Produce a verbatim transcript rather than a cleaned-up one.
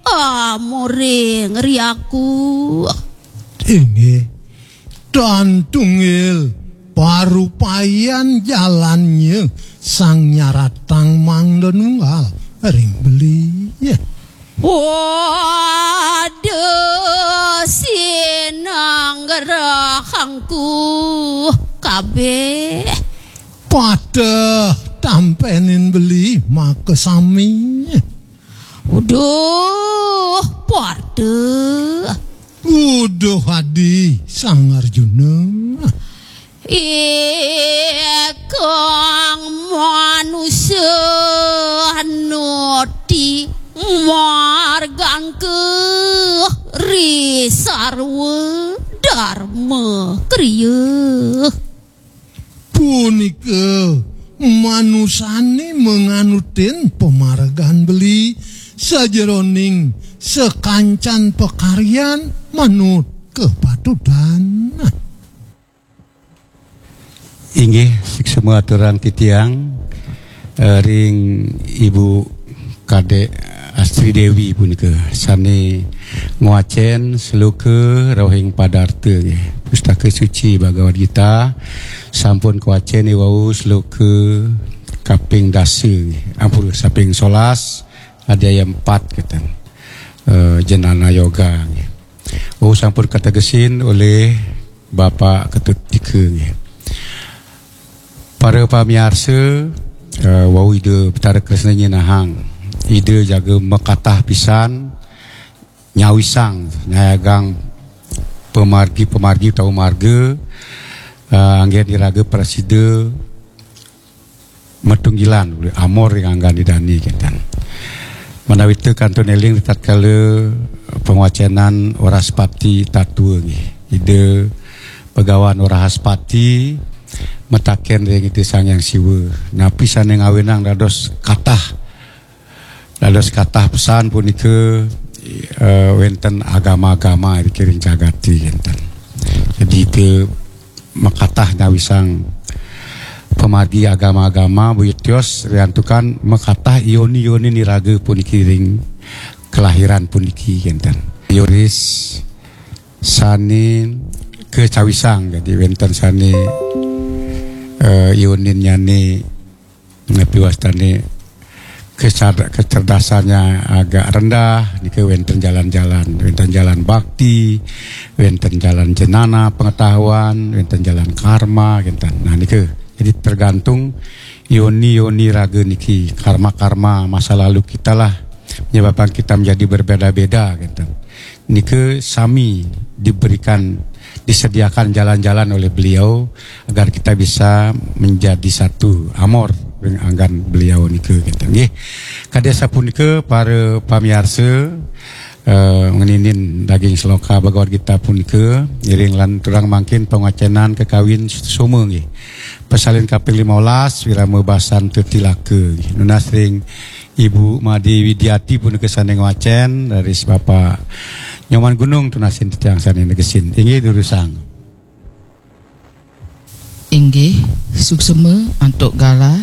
amuring riaku. Inggih, tan tunggil parupayan jalannya sang nyaratang mangda nunggal ring beli. Waduh, sinanggerahangku kabeh. Pateh tampenin beli makasami. Uduh, pateh. Uduh adi Sang Arjuna. Ikang manusa nuti margangka ri sarwa darma kriya. Punika manusane manganutin pamargan beli sajeroning sakancan pakaryan manut kapatutan. Inggih, suksma aturang titiang, eh, ring Ibu Kadek Astri Dewi punika sane ngwacen sloka rauhing padarta nggih. Pustaka Suci Bhagavad Gita sampun kawacen wau sloka kaping dasa nggih. Ampura, kaping solas, adi ayat empat keten. Eh, Jnana Yoga nggih. Wau sampun kategesin oleh Bapak Ketut Tika nggih. Para pamiarsa, eh, wau Ida Betara Kresna nyinahang. Ida jaga makatah pisan nyawisang, nyayagang pamargi-pamargi utawa marga, eh, anggen iraga prasida matunggilan, amor ring anggan Ida dane kenten. Manawita kantun eling ritatkala pangwacenan Wrahaspati Tatwa nggih. Ida Bhagawan Wrahaspati mataken ring Ida Sang Hyang Siwa, napi sane ngawinang dados katah, dados katah pesan punika, eh, wenten agama-agama ring jagate kenten. Jadi, ida makatah nyawisang pamargi agama-agama, buyut tios riantukan makatah yoni-yoni niraga puniki ring kelahiran puniki kenten. Yoris sane kacawisang, jadi wenten sane, eh, yoninnyane napi wastane kecer-, kecerdasannya agak rendah, nika wenten jalan-jalan, wenten jalan bakti, wenten jalan jenana pengetahuan, wenten jalan karma, kenten. Nah, nika jadi tergantung yoni-yoni raga niki, karma-karma masa lalu kita lah menyebabkan kita menjadi berbeda-beda, kenten. Nika sami diberikan, disediakan jalan-jalan oleh beliau agar kita bisa menjadi satu, amor ring anggan beliau nika, kenten nggih. Kadi asapunika para pamiarsa, eh, ngeninin daging sloka Bhagavad Gita punika, iring lan turang mangkin pangwacenan kakawin soma nggih. Pasalin kaping lima belas, Wirama Basan Tetilaka nggih. Nunas ring Ibu Made Widiati punika sane ngwacen, raris Bapak Nyoman Gunung tunasin titiang sane negesin. Inggih, durusang. Inggih, suksema antuk galah